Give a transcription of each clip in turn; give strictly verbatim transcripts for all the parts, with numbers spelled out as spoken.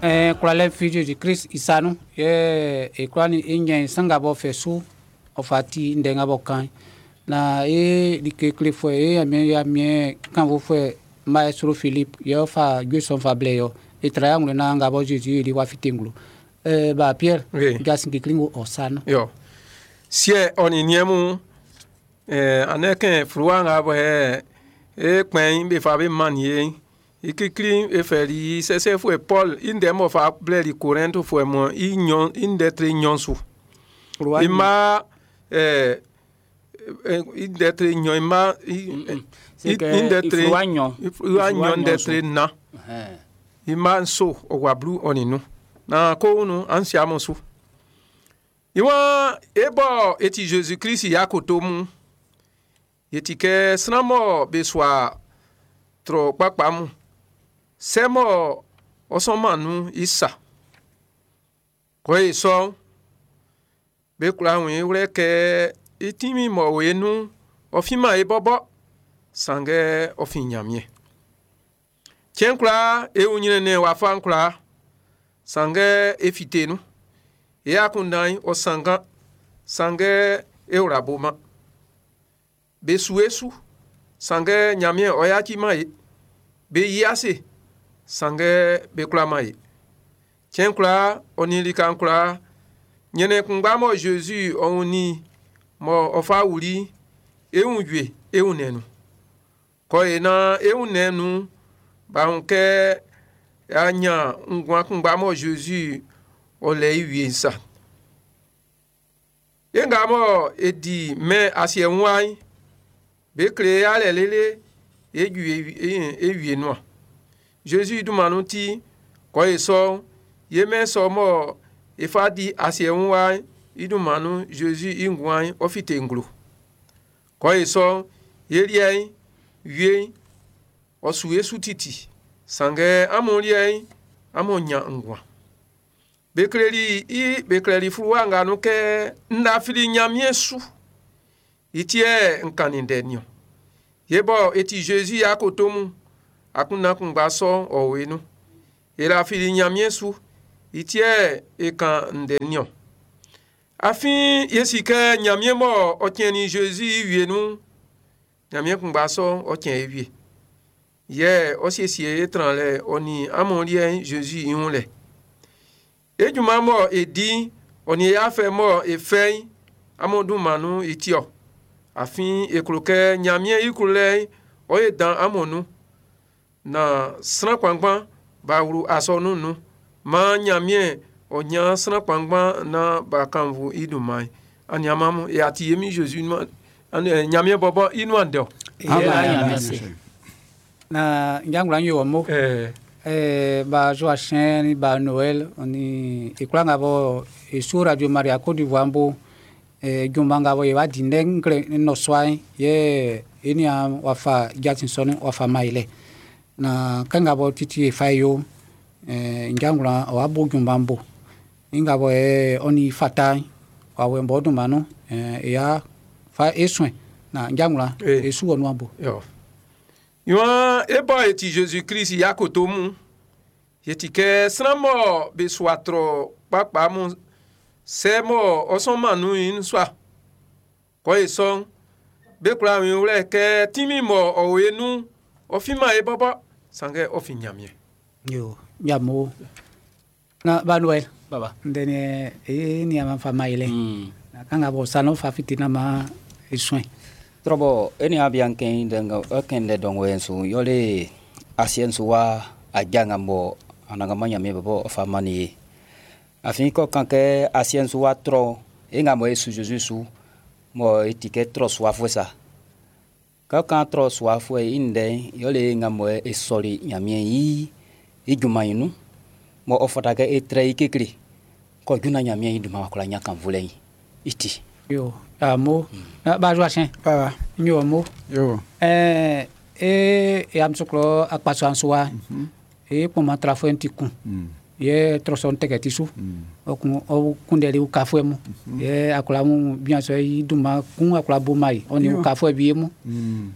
Eh, kwlalɛ fi Jésus Christ i sa nun yɛ e kwla ni e ɲɛn san nga bɔ fɛ su ɔ fa ti ndɛ nga bɔ kan na e like klefuɛ e Ɲanmiɛn Ɲanmiɛn kanfuɛ maestro Philippe yɛ ɔ fa jue sɔ'n fa blɛ yɔ e tra ya ŋlɔ na nga bɔ Jésus yeli wa fite nglo eh, ba Pierre Oui. jasin kekle ŋo ɔ sa nun. Yo. Siɛ ɔ nin niɛn mun eh, anɛ kɛn fluwa nga bɔ hɛ e kpɛn be fa be man ye i kikli e fɛ li sɛsɛfuɛ Paul i ndɛ mɔ fa blɛ li Korintfuɛ mun i nyɔn i ndɛ tre nyɔn su. Fluwa I ma eh, eh, i ndɛ tre nyɔn i ma i C'est que i ndɛ tre fluwa nyɔn. i fluwa Fluwa nyɔn ndɛ nyɔn su. tre na Ɛhɛn. i ma nso ɔwa blu ɔni nu na ko nu an si amu su. Iwan e bɔ eti Jésus Christ ya koto mu yeti kɛ sranmɔ be sua trɔ kpakpa mu sɛmɔ ɔsɔnma nu isa kɔ ye sɔ be kura ŋun wlɛ kɛ itimi mɔ wo nu ɔfima ye bɔbɔ sangɛ ɔfi Ɲanmiɛn tiɲɛ kura ewu nyinɛ wa fa kura sangɛ efite nu eya kundan ɔsangan sangɛ ewura boma be su esu sangɛ Ɲanmiɛn ɔyatsi ma ye be yiase sangɛ be kura ma ye tiɲɛ kura ɔnilikan kura nyɛnɛ kungba mɔ Jésus ɔwun ni mɔ ɔfa wuli ewu yue ewu nɛnu kɔ ye na ewu nɛnu bahun kɛ anya ŋgua kungba mɔ Jésus ɔlɛ iwie sa yenga mɔ edi mɛ asiɛ ŋua be kle alɛ lele edu ewie nua Jésus dumanu ti kɔ ye sɔ ye mɛ sɔ mɔ efa di asiɛ ŋua idumanu Jésus ingua ɔfite ŋglo kɔ ye sɔ yeliɛ wie ɔsu esu titi sangɛ amuliɛ amu nya ŋgua bekleli i bekleli fluwa nga nu kɛ ndafili Ɲanmiɛn su itiɛ nkani dɛ niɔ yebɔ eti Jésus ya koto mu akunakungba sɔ ɔwe nu elafili Ɲanmiɛn su itiɛ ekan ndɛ niɔ afin yesi kɛ Ɲanmiɛn mɔ ɔtiɛni Jésus wie nu Ɲanmiɛn kungba sɔ ɔtiɛ ewie yɛ ɔsiesie etran lɛ ɔni amuliɛ Jésus ihun lɛ edzuma mɔ edi ɔni afɛ mɔ efɛ amodumanu itiɔ afin eklo kɛ Ɲanmiɛn iklo lɛ ɔye dan amonu na sran kpangban ba wlu asɔnu nu ma Ɲanmiɛn ɔnya sran kpangban na ba kanvu iduma ani amamu e ati yemi Jésus nu ani Ɲanmiɛn bɔbɔ inu andɛ o. Na njangula nyo mo ɛɛ eh, ba Joachim ni ba Noël oni ikula nga bo esu Radio Maria Côte d'Ivoire mbo eh, jumba nga bo ye wa di ndɛ nkle no soa ye eni a wafa jatin sɔni wafa maile na kanga bo titi e fa yo eh, njangula wa bo jumba mbo inga bo e oni fata wa we mbo dum manu eh, ya fa esuen na njangula Eh. esu wonu ambo. Yo. Iwan ebɔ eti Jésus Christ ya koto mu yeti kɛ sranmɔ be sua trɔ kpakpa mu sɛmɔ ɔsɔnmanu yin sua kɔ ye sɔn be kura mi wlɛ kɛ timi mɔ ɔwoye nu ɔfima ye bɔbɔ sangɛ ɔfi Ɲanmiɛn. Yo nyamo na ba Noël Baba. ndene e ni ama fa maile. Mm. Na kanga bo sano fa fitina ma esuen. Trobo eni abian ken denga ken de dong wen su yole asien su wa ajanga mo ananga manya me bo fa mani afin ko kan ke asien su wa tro e nga mo e su Jésus su mo etike tro su afo sa ka kan tro su afo e inde yole nga mo e sori nyamie yi i juma inu mo ofata ke e tre ikekri ko juna nyamie yi duma ko la nya kan vule yi iti. Yo amo na ba Joachim. Baba. Nyo mo. Yo. Eh e e am soklo akpaso ansoa e poma trafo enti kun ye troson teke tisu o kun o kundeli ukafo mu ye akola mu bien so yi duma kun akola bo mai oni Yo. ukafo bi mu. Mm.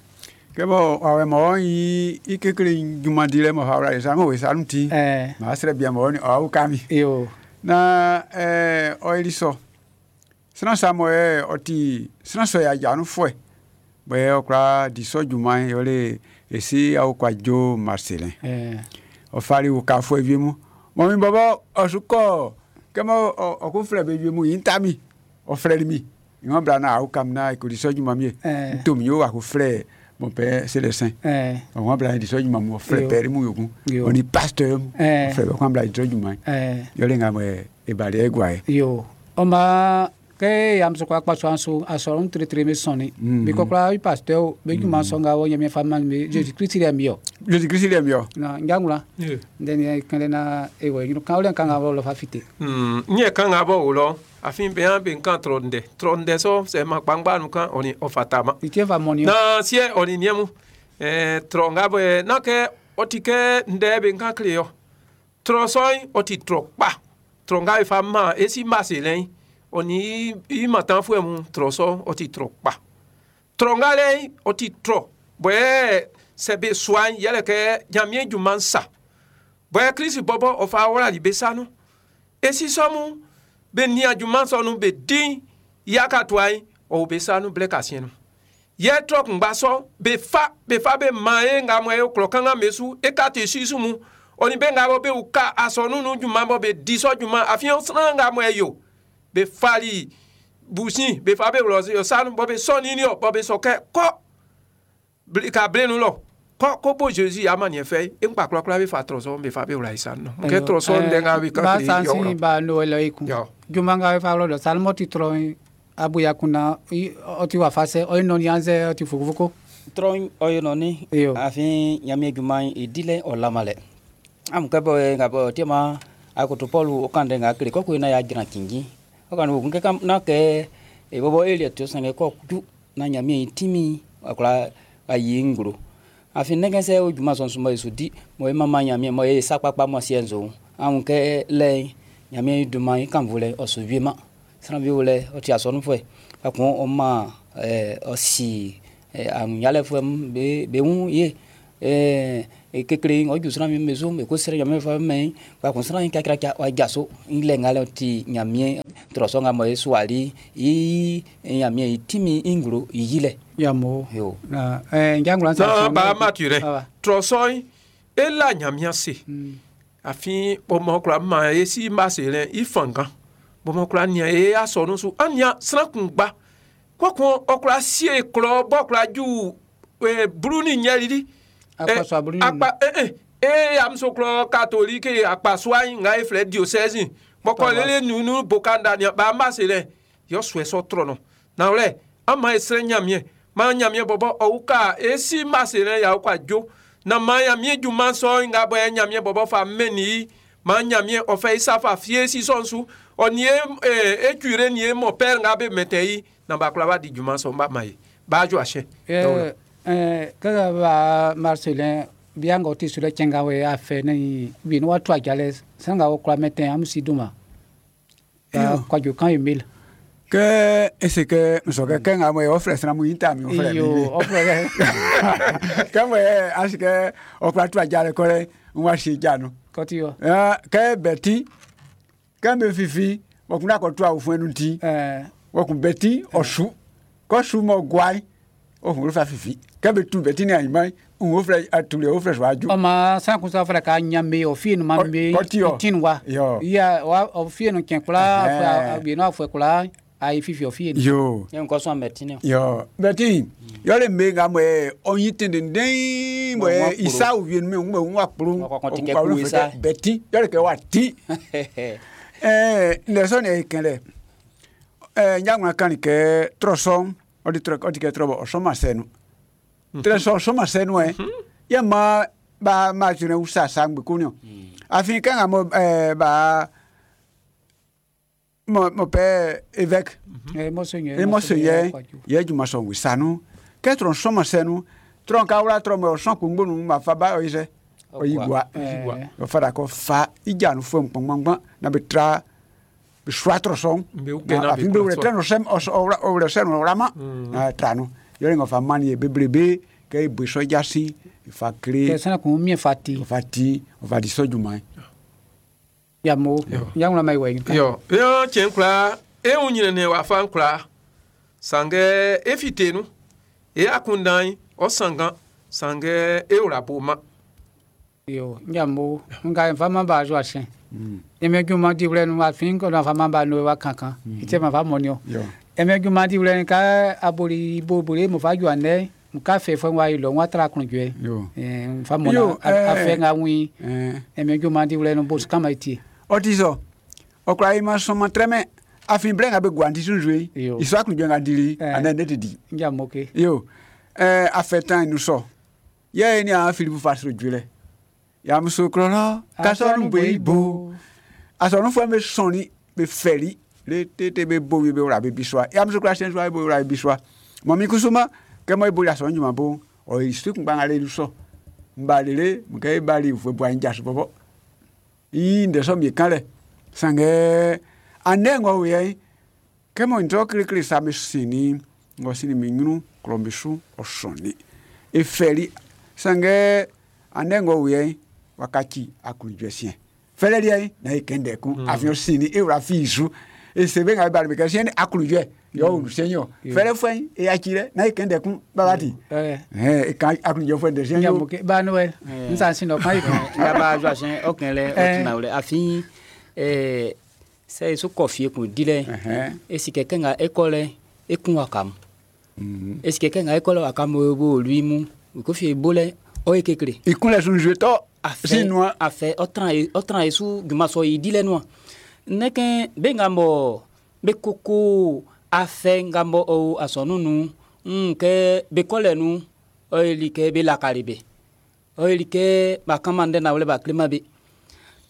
Kɛ bɔ awɛ mɔ yi i kekle junman dilɛ mɔ fa wla sa ŋo sa nu ti. Eh. Ma srɛ bia mɔ ni ɔ kami. Yo. Na eh ɔ ili sɔ. Sran sa mɔ ɛ ɔ ti sran sɔ ya ja nu fɔɛ. Bɛ ɔ kura di sɔ junman yɔ le esi awo kwa jo Marcelin. Eh. Ɔ fari wo ka fɔ evie mu. Mɔ mi bɔbɔ ɔsukɔ kɛmɛ ɔ ɔ ko filɛ bɛ evie mu yi ń ta mi. Ɔ filɛ mi. Ìwọ̀n bila na awo kam na eko di sɔ junman mi ye. Eh. Ntomi yo wa ko filɛ mon père Célestin. Eh. Ɔwɔn bila di sɔ junman mu ɔ filɛ Yo. pɛri mu yòókù. Yo. Ɔni pasteur mu. Eh. Ɔ filɛ bɛ kɔn bila di sɔ junman. Eh. Yɔle ŋa mɔ ebali egua ye. Yo. Ɔma ke yamso kwa kpa so anso asɔrɔ ŋutretre mi sɔni. Mm. Bi kɔkɔla i pasteur be juma sɔn ka wɔ nyɛmɛ fa mi Jésus Christ yɛ mi yɔ. Jésus Christ yɛ mi yɔ. Na njangula. Yeah. Ndeni kɛlɛ na ewa yinu kan wole kan ka wɔ lɔ fa fite. Hmm, nye kan ŋa bɔ o lɔ afin bɛn an bɛ kan trɔ ndɛ trɔ ndɛ sɔ sɛ ma kpangba nu kan ɔni ɔfata ma. Itie fa mɔni. Na siɛ ɔni niɛmu ɛɛ trɔ ŋa bɔ yɛ n'a kɛ ɔti kɛ ndɛ bɛ kan kile yɔ trɔ sɔn ɔti trɔ kpa trɔ ŋa yi fa ma esi ma se lɛ ɔni i ma tan fún mu trɔ sɔ ɔti trɔ kpa trɔ ŋa lɛ ɔti trɔ bɔyɛ sɛbɛ suan yɛlɛ kɛ Ɲamie junman sa bɔyɛ Kirisi bɔbɔ ɔfa wɔla li be sanu esi sɔmu be nia junman sɔnu be din yaka to ayi ɔwɔ be sanu blɛ ka siɛ nu yɛ trɔ kungba sɔ be fa be fa be ma ye ŋa mɔ ye klɔ kanga me su e ka te si su mu ɔni be ŋa bɔ be wu ka asɔnu nu junman bɔ be di sɔ junman afiɛ sran ŋa mɔ ye yo be fali busi be fa be wlɔ sanu bɔ be sɔ nini yɔ bɔ be sɔ kɛ kɔ bli- ka blenu lɔ kɔ ko bo Jésus ama niɛ fɛ e ŋgba kura be fa trɔ sɔ be fa be wla yi sanu nɔ kɛ trɔ sɔ ndɛ ŋa be Ba kan kile sansi yɔ ba Noël ikun. Yo. Juma ŋa fa lɔ dɔ salmɔ ti trɔ abuya kunna i ɔti wa fa sɛ ɔyi nɔni anzɛ ɔti fokofoko. Trɔ ɔyɔ nɔni. Yo. Afin Ɲamie junman i dilɛ ɔ lama lɛ. Amu kɛ bɔ ŋa bɔ tema akoto Paul o kan dɛ ŋa kele kɔkɔ na ya jira kingi. O kan wo kɛ kam na kɛ e bɔbɔ elia to sange kɔ ju na Ɲamie timi akula ayi ngro. Afin nɛgɛ sɛ o juma sɔn suma yesu di mɔ e mama Ɲamie mɔ e sakpakpa mɔ siɛ nzo. Amu kɛ lɛ Ɲamie duma i kan volɛ ɔsɔ vie ma. Sran bi wolɛ ɔti asɔnu fɛ. Akun ɔma ɛɛ ɔsi ɛɛ aŋunyalɛ fɛ be be ŋu ye ɛɛ kekele ɔdzu sran mi me so me ko srɛ Ɲamie fɛ mɛ kpakun sran kakra ɔdza so ŋlɛ ŋa ti Ɲamie trɔsɔ ŋa mɔ ye suali yi Ɲamie timi ŋglo yi lɛ. Yamo. Yo. Na eh njangula na ba mature Ah. trɔ sɔ e la Ɲamia se afin bɔmɔ kura ma ye si ma se lɛ i fangan bɔmɔ kura nia ye asɔnu su an nia sran kun gba kɔkɔn ɔkura sie klɔ bɔ kura ju ee bulu ni ɲɛlili. Akpaso abulu ni- akpa eh eh e amuso klɔ catholique akpaso ayi ŋa ye filɛ diocèse bɔkɔ lele nunu bokanda nia ba ma se lɛ yɔ sɔɛ sɔ trɔ nɔ nawlɛ an ma ye srɛ Ɲamie ma Ɲamie bɔbɔ ɔwu ka esi ma se lɛ yawu ka dzo na ma Ɲamie juma sɔ ŋa bɔ yɛ Ɲamie bɔbɔ fa mɛ ni ma Ɲamie ɔfɛ isafa fie sisɔn su ɔni ye ee ecure ni ye mɔ pɛr ŋa be mɛtɛ yi na ba kura ba di juma sɔn ba ma ye ba jɔ a sɛ. Eh eh kaka ba Marcelin bianga oti sule chenga we afe ni bi no watu ajale sanga wo kura meten am si duma. Ya Iyo. kwa jo kan email. Kɛ ese kɛ nsɔkɛ kɛ ŋa mɔ ye ɔfilɛ sira mu yi ta mi ɔfilɛ mi Iyo ye. ofre. Kɛ mɔ ye asi kɛ ɔkura tu adza lɛ kɔlɛ ŋua si dza nu. Koti yo. Ɛɛ kɛ bɛti kɛ mɛ fifi wɔkun akɔ tu awo fún ɛnu ti Eh wɔkun bɛti ɔsu kɔsu mɔ guai ohun fa fifi kɛ bɛ tu bɛti ni anyima ohun filɛ atuli ohun filɛ sɔ adu. Ɔma san kun sa fara ka ɲame o fiye nu ma Ɔ- me kɔti yɔ. tin wa. Yɔ. Iya wa o fiye nu kɛn kula Ɛhɛn. bi no afɔ kula ayi fifi o fiye nu. Yo Ye ŋkɔ sɔn mɛ tini. yo bɛti yɔle me ŋa mɔ ye ɔnyi tendenden mɔ Mɔ ye ŋua kporo. isa wie nu mɛ ŋua ŋua kporo Ŋua kɔkɔ ti kɛ ŋua ku isa. bɛti yɔle kɛ wa ti. Ɛɛ lɛsɔn yɛ kɛn lɛ ɛɛ nyaŋua kan kɛ trɔsɔn ɔdi trɔ ɔdi kɛ trɔ bɔ ɔsɔn ma sɛnu trɔsɔn ɔsɔn ma sɛnu yɛ yɛ ma ba ma tún wusa sangbe ko ni o afi kan ka mɔ ɛɛ ba mɔ mɔ pɛ évêque Eh monseigneur. e mɔsɔ yɛ yɛ juma sɔn wisanu kɛ trɔ sɔn ma sɛnu trɔ ka wula trɔ mɛ ɔsɔn kungbonu ma fa ba ɔyi sɛ ɔyi gua Eh. ɔfa kɔ fa idza nu fún gbɔngbɔngbɔn na bɛ tra bɛ sua trɔ sɔn Bɛ wukɛ na afi bɛ bɛ wulɛ kura trɛ nu sɛm ɔsɔ ɔwlɛ ɔwlɛ sɛnu ɔwlama na tra nu yɔrɔ ŋa fa mani ye bebrebe Kɛ e bo sɔ jasi fa kle Kɛ sran kun miɛn fa ti. Fa ti fa di sɔ junman. Ya mo ya ŋlɔ ma yi wɛ. Yo, yo cɛn kwlaa e wun ɲrɛnnɛn wafa'n kwlaa sanngɛ e fite nun e akunndan'n ɔ sanngan sanngɛ e wla bo ma. Yo, ya mo nga fa ma ba zo asen. Eme junman diwlɛ nu afin ko na fa ma ba no wa kankan. Ite ma fa mo ni o. Yo. Eme junman diwlɛ ka abori bo bori mo fa ju ane ka fe fo wa ilo wa tra kun jwe. Yo. Eh fa mo na Yo, a eh. fe nga wi. Eh. Eme junman diwlɛ nu bo kama iti. Ɔti sɔ ɔkura yi ma sɔn ma trɛmɛ afin blɛ ŋa bɛ guanti sunsun Yo. yi isɔ akunjɛ ŋa dili Eh. anɛ ne ti di. Ya mo ke. Yo, ɛɛ afɛtan nu sɔ yɛ ni a Filipu fa sɔrɔ jolɛ yamuso kɔlɔlɔ kasɔnu bɛ bo asɔnu fɔ bɛ sɔnni bɛ fɛli le tete bɛ bo bɛ wla bɛ bisua yamuso kura sɛn sua bɛ wla bɛ bisua mɔmi kusuma kɛmɔ ibo asɔnu juma bo ɔ isu kun gbanga le sɔ nba lele mukɛ ibali fo bo anyi jasu bɔbɔ yi ndɛsɔ mi kan lɛ sangɛ anɛ ŋɔ wɛ kɛmɔ ntɔ kirikiri sa mi sini ŋɔ sini mi ŋunu kplɔ mi su ɔsɔni efɛli sangɛ anɛ ŋɔ wɛ wakati akunjɛ siɛ fɛlɛ liɛ na ye kɛndɛ kun afiɲɔ sini ewura fi su esebe ŋa bari kɛ siɛ ni akunjɛ yɔ wulu sɛnyɔ fɛlɛ fɛn eyatsi lɛ na ye kɛndɛ kun babati Eh. ɛɛ kan akunjɛ fɛn dɛ sɛnyɔ Ya mo ke ba no e. Nsa sin no kan yi. Nga ba zo asen ɔkɛn lɛ Eh. ɔtina wlɛ afin ɛɛ sɛ esu kɔfie kun di lɛ Ɛhɛn. esi kɛkɛ ŋa ekɔ lɛ ekun wakam esi kɛkɛ ŋa ekɔ lɛ wakam wo lui mu kofi ebo lɛ ɔye kekle ikunlɛ sunsun tɔ afɛ sinua afɛ ɔtran ye ɔtran yesu jumasɔ yi di lɛ nua nɛkɛ be ŋa mɔ be koko afɛ ŋa mɔ ɔ asɔnu nu ŋ kɛ be kɔlɛ nu ɔyeli kɛ be lakali be ɔyeli kɛ ba kama ndɛ na wlɛ ba kilema be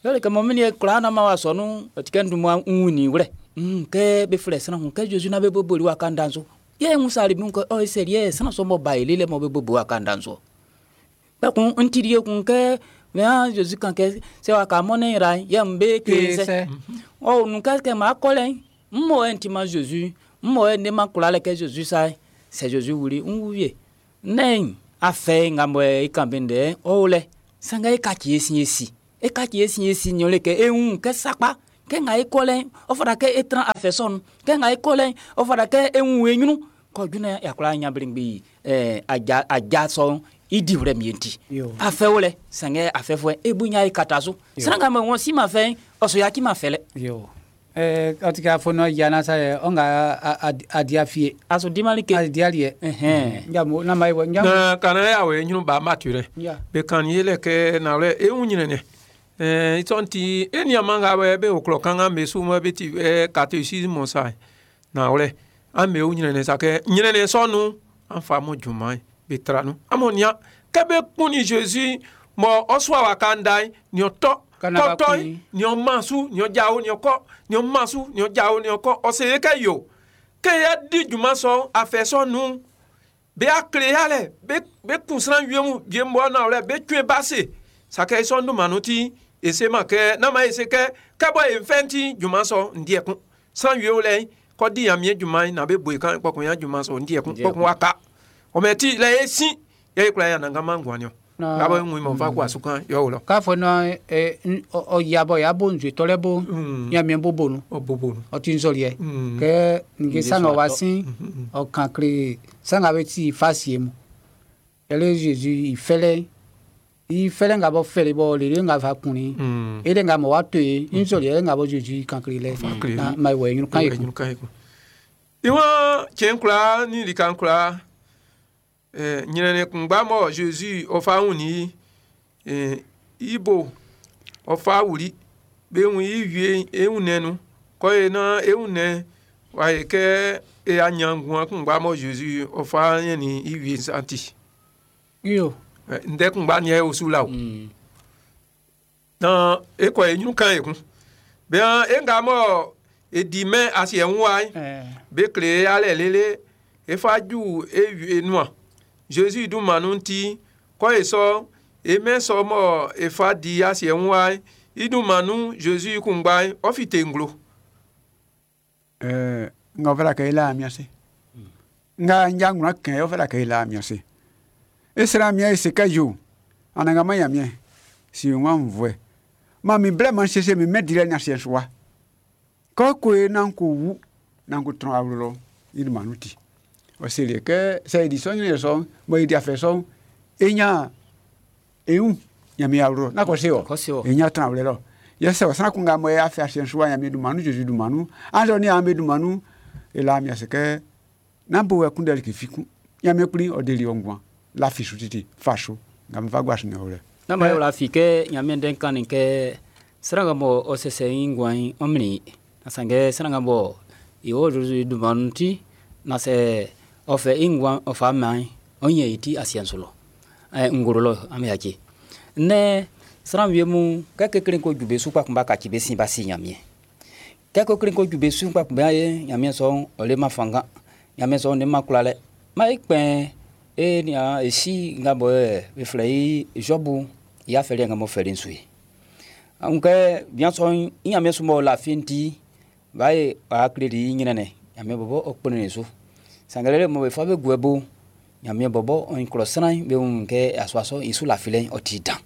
yɔli kɛ mɔ mini ye kura na ma wa sɔnu ɔtikɛ ndumua ŋuni wlɛ ŋ kɛ be filɛ sran kun kɛ Jésus na be boboli wa kan danso ye ŋu sali mi kɛ ɔye sɛli ye sran sɔ mɔ ba yeli lɛ mɔ be bobo wa kan danso kpɛkun ntiri ye kun kɛ mɛ Jésus kan kɛ sɛ wa ka mɔnɛ yira yɛ n be Kese. kese ɔ nu kɛ kɛ ma kɔlɛ n mɔ yɛ nti ma Jésus n mɔ yɛ ne ma kura lɛ kɛ Jésus sa sɛ Jésus wuli n wuye ne afɛ ŋa mɔ yɛ i kan be ndɛ ɔwɔ lɛ sanga e ka tsi esi esi e ka tsi esi esi nyɔ le kɛ eŋu kɛ sakpa kɛ ŋa e kɔlɛ ɔfɔda kɛ e tran afɛ sɔnu kɛ ŋa e kɔlɛ ɔfɔda kɛ eŋu enyunu kɔdunɛ yakura nyabirigbi ɛɛ adza adza sɔ idi wlɛ mienti Yo. afɛ wlɛ sɛngɛ afɛ fɔɛ ebunya yi kata so sanga mɛ wɔn si ma fɛ ɔsɔ yaki ma fɛ lɛ Yo. Eh ɔtika fo no ya na sa ye ɔnga adia fie. aso dimali ke Adia liɛ. ɛhɛn Ya mo na ma yi wɛ. Ya. Na kana ya wɛ ɲinu ba ma tu rɛ. Ya. Be kan ye lɛ kɛ na wlɛ e wun ɲrɛnnɛn. Ɛɛ itɔn ti e ni ama ŋa wɛ be oklɔ kan ŋa me su mɔ be ti ɛ catéchisme sa na wlɛ an be wun ɲrɛnnɛn sa kɛ ɲrɛnnɛn sɔnu an fa mo junman be tra nu. Amo nia kɛ be kun ni Jésus mɔ ɔsua wa kan da ye ni ɔtɔ Kana ba kɔtɔ kun ye yi. ni ɔmasu ni ɔdzawo ni ɔkɔ ni ɔmasu ni ɔdzawo ni ɔkɔ ɔsè ye kɛ yo ke ya di junman sɔ afɛ sɔnu be akle ya lɛ be be kunsran wie mu wie mu na lɛ be tue ba se sakɛ sɔ ndumanu ti ese ma kɛ nama ese kɛ kɛbɔ ye fɛn ti junman sɔ ndiɛ kun san wie lɛ kɔ di yan mie junman na be boyi kan kpɔkun ya junman sɔ ndiɛ kun Ndiɛ kpɔkun wa ka ɔmɛ ti lɛ esi yɛ ekura ya nanga ma ŋguani o Na- gabɔ ŋun mɔ fa ko asu kan yɔ wòlɔ K'a fɔ na eh ɔ yabɔ ya bo nzue tɔlɛ bo. Mm. Ya mi bo bo nu. ɔ bobo nu Ɔti nzɔliɛ. Mm. Kɛ nge Nge sanga sɔ wa atɔ. sin ɔ kan kle sanga bɛ ti fa sie mu. Yɛlɛ Jésus ifɛlɛ ifɛlɛ ŋa bɔ fɛlɛ bɔ lele ŋa fa kunni. Mm. Ele ŋa mɔ wa to ye nzɔliɛ ŋa bɔ Jésus kan kle lɛ. kle. Na ma wɛ ɲinu kan ye kun. Ɲinu kan ye kun iwọn tiɲɛ kura ni likan kura ɛɛ ɲinɛnɛ kungba mɔ Jésus ɔfa ŋun ni ɛɛ ibo ɔfa wuli be ŋun yi wie eŋun nɛnu kɔ ye na eŋun nɛ wa ye kɛ eya nyangun kungba mɔ Jésus ɔfa yɛ ni iwie santi Iyo. ɛ ndɛ kungba ni yɛ osu la o Mm. na ekɔ ye ɲinu kan ye kun bɛn e ŋa mɔ edi mɛ asiɛ ŋu wa ye Ɛɛ. be kle alɛ lele efa dzu ewi enua Jésus du manu ŋuti kɔ esɔ eme sɔ mɔ efa di asiɛ ŋua idu manu Jésus kungba ɔfi te ŋglo Eh, nga ofela ke ila miase. Nga njangu na ke ofela ke ila miase. E sran Ɲanmiɛn e se kɛ yo Anannganman Ɲanmiɛn si n aunnvuɛ. Man min blɛ man siesie min mɛn dilɛ nin asiɛ'n su wa. Kɛ ko e naan ko wu naan ko tran awlo lɔ i dunman nun ti. Ɔ seli e kɛ sɛ e di sɔ ɲrɛnnɛn sɔ'n mɔ e di afɛ sɔ'n e ɲan e wun Ɲanmiɛn awlo lɔ. Nán kɔ se ɔ. Kɔ se ɔ. E ɲan tranwlɛ lɔ. Yɛ sɛ ɔ sran kun nga mɔ e afɛ asiɛ'n su wa Ɲanmiɛn dunman nun Zezi dunman nun annzɛ ɔ niaan'm be dunman nun e la Ɲanmiɛn ase kɛ nán bo wɛ kunndɛ like fi kun. Ɲanmiɛn kpli ɔ deli ɔ nguan lafi su titi fa su nga n fa gua su nin ɔ lɛ. Na ma wla fi kɛ Ɲanmiɛn ndɛ'n kannin kɛ sran nga mɔ ɔ sɛsɛ i nguan'n ɔ mlin i. Na sanngɛ sran nga mɔ i o Zezi dunman nun ti na sɛ ɔ fɛ i nguan ɔ fa man ɔ ɲɛn i ti asiɛ'n su lɔ. Ɛ nglo lɔ an yaci. Nnɛ sran wie mun kɛ kekle'n ko ju be su kpa kun b'a kaci be sin b'a si Ɲanmiɛn. Kɛ kekle'n ko ju be su kpa kun b'a ye Ɲanmiɛn sɔ'n ɔ leman fanngan. Ɲanmiɛn sɔ'n leman kwlalɛ. Ma e kpɛn e nian e si nga bɔ be flɛ i Zɔbu i afɛ nga m'ɔ fɛli'n su ye. An kɛ bian sɔ'n i Ɲanmiɛn su m'ɔ lafi'n ti b'a ye a kleli i ɲrɛnnɛn Ɲanmiɛn bɔbɔ ɔ kplin su. Sanngɛ lele mɔ be fa be guɛ bo Ɲanmiɛn bɔbɔ ɔ klɔ sran be wun kɛ asua sɔ'n i su lafilɛ'n ɔ ti dan.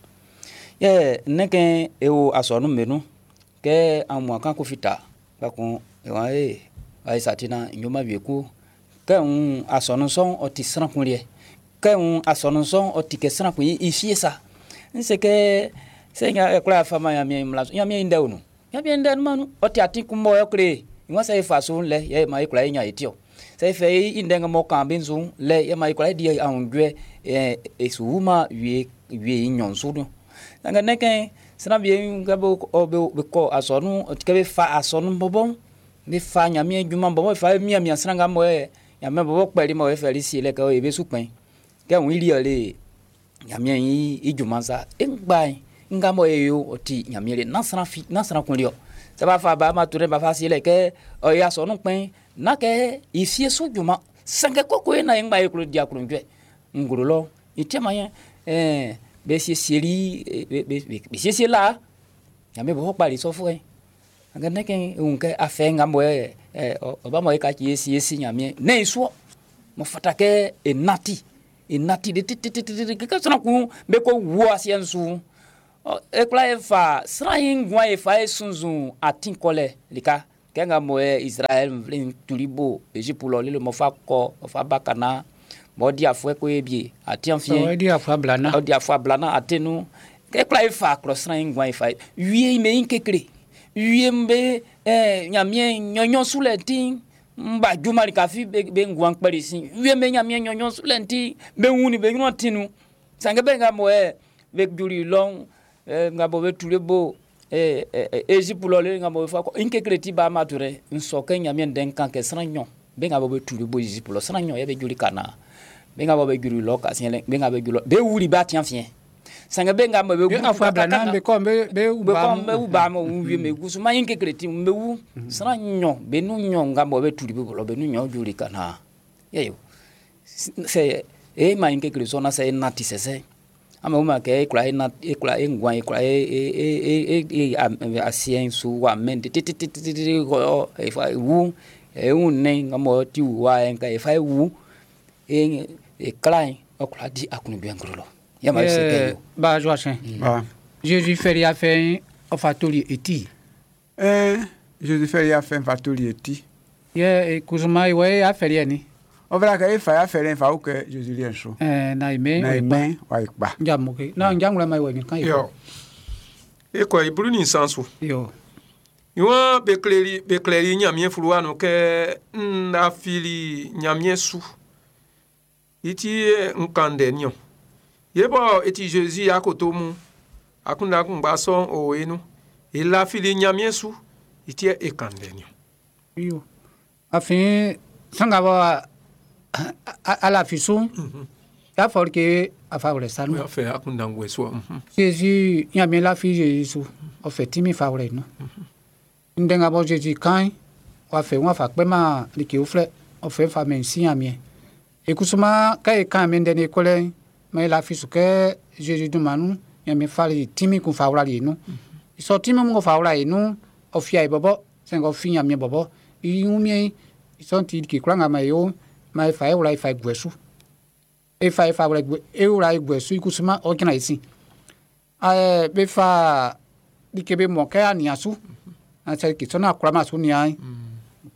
Yɛ nnɛn kɛ e wo asɔnun'm be nun kɛ aunmuan kan ko fita kpɛkun e waan ee ayi satina ɲoma wie ko kɛ ń asɔnun sɔ'n ɔ ti sran kun liɛ kɛ ń asɔnun sɔ'n ɔ ti kɛ sran kun i fie sa n se kɛ sɛ nya e kwla fa ma Ɲanmiɛn mmla su Ɲanmiɛn i ndɛ o nun Ɲanmiɛn ndɛ nunman nun ɔ ti atin kun mɔ ɔ kle i wan sɛ e fa su lɛ yɛ ma e kwla e ɲan e ti ɔ sɛ e fɛ i ndɛ nga mɔ kan be su lɛ yɛ ma e kwla e di aklunjuɛ ɛ e su wuma wie wie i nɲɔn su nun sanngɛ ne kɛ sran wie kɛ be ɔ be be kɔ asɔnun ɔ ti kɛ be fa asɔnun bɔbɔ be fa Ɲanmiɛn junman bɔbɔ be fa mianmian sran nga mɔ ɛ Ɲanmiɛn bɔbɔ kpɛli mɔ e fɛli sie lɛ kɛ e be su kpɛn kɛ wun i liɛ le Ɲanmiɛn i i junman sa e ngba nga mɔ e yo ɔ ti Ɲanmiɛn le nan sran fi nan sran kun liɛ sɛ b'a fa ba ma ture b'a fa sie lɛ kɛ ɔ ye asɔnun kpɛn na kɛ i fie su junman sanngɛ koko e na e ngba e klo di aklunjuɛ nglo lɔ i tiɛma yɛ ɛɛ be siesieli be be be siesie la Ɲanmiɛn bɔbɔ kpali sɔfuɛ sanngɛ ne kɛ e wun kɛ afɛ nga mɔ ɛ ɛ ɔba mɔ e ka ci e siesie Ɲanmiɛn ne i suɔ mɔ fata kɛ e nati e nati de titititi kɛ sran kun be ko wu asiɛ'n su ɔ e kwla e fa sran yi nguan e fa e sunzun atin kɔlɛ lika kɛ nga mɔ ɛ Israɛl nvle'n tuli bo Égypte lɔ lele mɔ fa kɔ ɔ fa ba kana mɔ di afuɛ ko e bie atiɛn fiɛ Ɔ di afuɛ ablana. ɔ di afuɛ ablana ate nu kɛ kwla e fa klɔ sran yi nguan e fa wie me yin kekle wie be ɛ Ɲanmiɛn nyɔnyɔn su lɛ ti n ba juma lika fi be be nguan kpɛli sin wie be Ɲanmiɛn nyɔnyɔn su lɛ ti be wuni be ɲrun ti nu sanngɛ be nga mɔ ɛ be juli lɔn ɛ nga bɔ be tuli bo ɛ ɛ Égypte lɔ le nga bɔ be fa kɔ n kekle ti ba ma tu dɛ n sɔ kɛ Ɲanmiɛn ndɛ'n kan kɛ sran nyɔn be nga bɔ be tuli bo Égypte lɔ sran nyɔn yɛ be juli kana be nga bɔ be juli lɔ ka siɛn lɛ be nga be juli lɔ be wuli ba tiɛn fiɛ sanngɛ be nga mɔ be Be afuɛ ablana be kɔ be be be ba kɔ be wu ba mo wu wie me gusu ma yin kekle ti be wu sran nyɔn be nu nyɔn nga bɔ be tuli be bɔ be nu nyɔn juli kana yɛ yo sɛ e ma yin kekle sɔ na sɛ e nati sɛsɛ ama wo ma kɛ e kura e na e kura e nguan e kura e e e e e asiɛ'n su wa mɛn tititititi kɔ e fa wu e wu nɛ nga mɔ ti wu wa yɛ nka e fa e wu e e kla yi ɔ kura di aklunjuɛ ŋgolo lɔ yɛ ma e se kɛ yo. Ba Joachim. Ah. Jésus fɛli afɛ ɔ fa toli eti. Eh, Jésus fɛ ya fɛn fa toli eti. Yɛ kusuma iwɛ afɛli yɛ ni. Ɔ fɛla kɛ e fa ya fɛlɛ fa o kɛ Jésus liɛ so. Ɛɛ na ime. Na ime wa ikpa. Nja moke. Na nja ŋlɔ ma iwɛ ni kan Yo. E kɔ ibulu ni nsan su. Yo. Ìwọ̀n be kleli be kleli Ɲanmiɛn fluwa nun kɛ n lafili Ɲanmiɛn su. I ti n kan ndɛ niɔn. Ye bɔ e ti Jésus akoto mu akunda kungba sɔn o enu. E lafili Ɲanmiɛn su. I ti e kan ndɛ niɔn. Yo. Afin sanga bɔ ala fi su. Ya fɔ ke a fa wlɛ sanu. O y'a fɛ akunda ngwɛ su. Jésus Ɲanmiɛn lafi Jésus su. Ɔ fɛ timi fa wlɛ nu. Ndɛ nga bɔ Jésus kan wa fɛ wa fa kpɛ ma like uflɛ ɔ fɛ fa mɛ si Ɲanmiɛn. Ekusuma kɛ e kan mɛ ndɛ ne kɔlɛ mɛ lafi su kɛ Jésus dunman nu Ɲanmiɛn fali timi kun fa wlali nu. Sɔ timi mun ko fa wla yi nu ɔ fia yi bɔbɔ sɛnkɛ ɔ fi Ɲanmiɛn bɔbɔ i ŋu mie sɔn ti like kura nga ma yo ma e fa e wla e fa e guɛ su. E fa e fa wlɛ e wla e guɛ su ikusuma o jran isi. Ae be fa like be mo kɛ ania su. Na sɛ kisɔn na kura ma su nia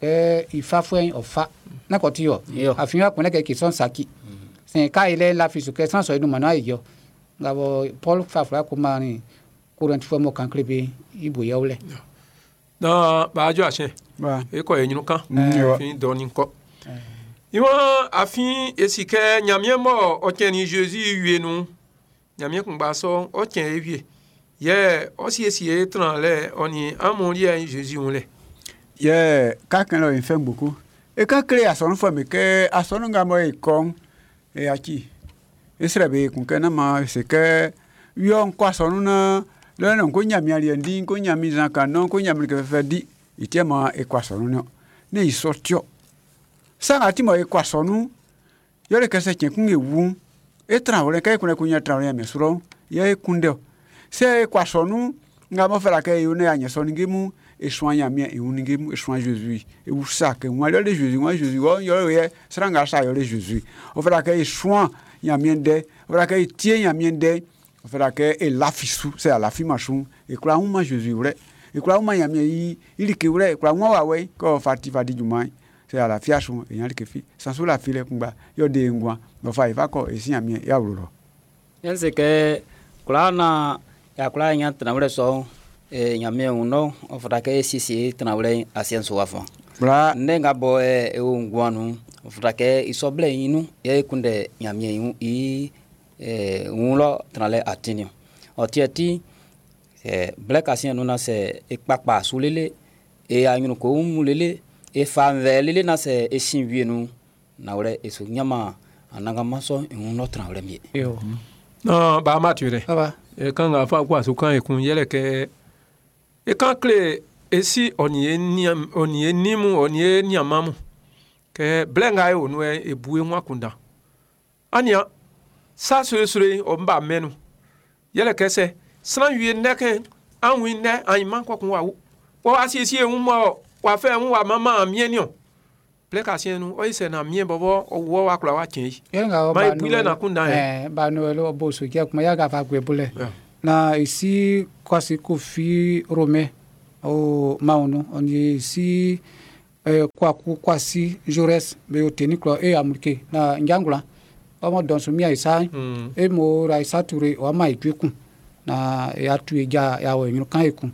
kɛ ifa fue o fa. Na ko ti yo. Yo. Afin wa kɛ kisɔn saki. Sɛn ka ile la fi su kɛ san sɔ inu mana iyo. Nga bo Paul fa fura ko ma ni Corinth fue mo kan kle be ibo ya wlɛ. Na ba jo ahyɛn Ba. e kɔ enyinu kan Mm, yo. fin dɔɔni kɔ iwọn afin esi kɛ Ɲanmiɛn mɔ ɔtsɛn ni Jésus wie nu Ɲanmiɛn kungba sɔ ɔtsɛn ewie yɛ ɔsiesie tran lɛ ɔni amu liɛ Jésus ŋu lɛ. Yɛ ka kɛn lɔ yin fɛn gboko. E ka kle asɔnu fɔ mi kɛ asɔnu nga mɔ e kɔn e atsi. E srɛ be kun kɛ na ma se kɛ yɔ ŋkɔ asɔnu na lɔnà ŋko nyami aliɛ di ŋko nyami zan kan nɔ ŋko nyami kɛ fɛfɛ di itiɛ ma e kɔ asɔnu nɔ ne yi sɔ tiɔ. Sanga ti mɔ e kɔ asɔnu yɔle kɛsɛ tiɲɛ kun ewu e tran wlɛ kɛ e kun kun nyɛ tran wlɛ mɛ srɔ yɛ e kun dɛ se e kɔ asɔnu nga mɔ fɛ la kɛ ewu ne ya nyɛ sɔ nige mu esuan Ɲanmiɛn ewu nige mu esuan Jésus ewu sa kɛ ŋua yɔle Jésus ŋua Jésus wɔ yɔle yɛ sran nga sa yɔle Jésus o fɛ la kɛ esuan Ɲanmiɛn dɛ o fɛ la kɛ etie Ɲanmiɛn dɛ o fɛ la kɛ elafi su sɛ alafi ma su ekura ŋu ma Jésus wlɛ ekura ŋu ma Ɲanmiɛn yi ilike wlɛ ekura ŋua wa wɛ kɔ fa ti fa di junman sɛ alafia su eyan like fi sanso la fi lɛ kungba yɔ de ŋgua nɔfa yi fa kɔ esi Ɲanmiɛn ya wlo lɔ. Yɛn se kɛ kura na ya kura nya tranwlɛ sɔ e Ɲanmiɛn wun nɔ ɔ fɔra kɛ e siesie tranwlɛ asiɛ'n su wa fɔ. Bla Ne nga bɔ ɛ e wo nguan nu ɔ fɔra kɛ isɔblɛ yi nu yɛ e kunndɛ Ɲanmiɛn i ɛ wun lɔ tranlɛ atini ɔ tiɛ ti ɛ blɛ kasiɛn nu na sɛ e kpakpa su lele e anyunu ko mu lele e fa nvɛ lele na sɛ e sin wie nu nawlɛ e su ɲama anagama sɔ wun lɔ tranwlɛ mi ye. Yo. Na ba ma tu rɛ. Ça va. E kan nga fa kwa su kan e kun yɛlɛ kɛ e kan kle esi ɔni ye niam ɔni ye nimu ɔni ye niamamu kɛ blɛ nga ye onu yɛ ebu ye ŋua kunda ania sa sore ɔ ba mɛnu yɛlɛ kɛ sɛ sran wie nɛ kɛ an wi nɛ anyi ma kɔ kun wa wu wɔ asiesie ŋu mɔ wa fɛ ŋu wa mama miɛ niɔ blɛ ka siɛ nu ɔyi sɛ na miɛ bɔbɔ ɔwɔ wa kura wa tiɲɛ yi Yɛlɛ nga Ma ebu lɛ na kunda yɛ. Eh ba Noël o bo so jɛ kuma ya ga fa gbe bole. Yeah. Na isi kwasi kofi Rome o maunu oni isi eh, kwaku kwasi Jaurès be o teni klo e amulke na njangula ọmọ dɔnso mia isa Mm. e mo ra isa ture o ama ikwe kun na ya tu e ja ya wɔ enyinu kan ekun